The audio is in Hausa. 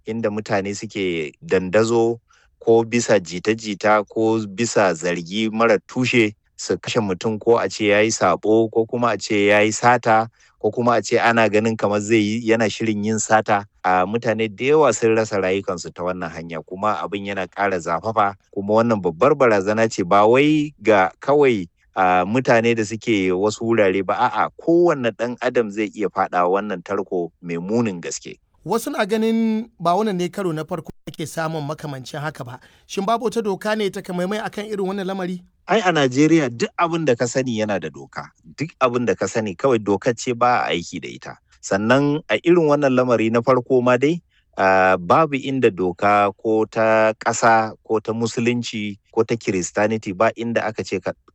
inda mutane suke dandazo ko bisa jita-jita ko bisa zargi mara tushe su kashe mutum, ko a ce ya yi sabo, ko kuma a ce ya yi sata, ko kuma a ce ana ganin kamar zai yi, yana shirin yin sata. A mutane da yawa sun rasa rayukansu ta wannan hanya, kuma abin yana ƙara zafafa. Kuma wannan babbar barazana ce, ba wai ga kawai a mutane da suke wasu wurare ba, a'a, kowanne ɗan adam zai iya faɗa wannan tarko mai munin gaske. Wasu na ganin ba wannan ne karo na farko ake samun makamancin haka ba. Shin babu wata doka ne ta kamaimai akan irin wannan lamari? Ai a Najeriya duk abin da ka sani yana da doka. Duk abin da ka sani, kawai dokar ce ba a aiki da ita. Sannan a irin wannan lamari na farko ma dai, babu inda doka ko ta ƙasa ko ta Musulunci ko ta Kiristaniti, ba inda aka ce ka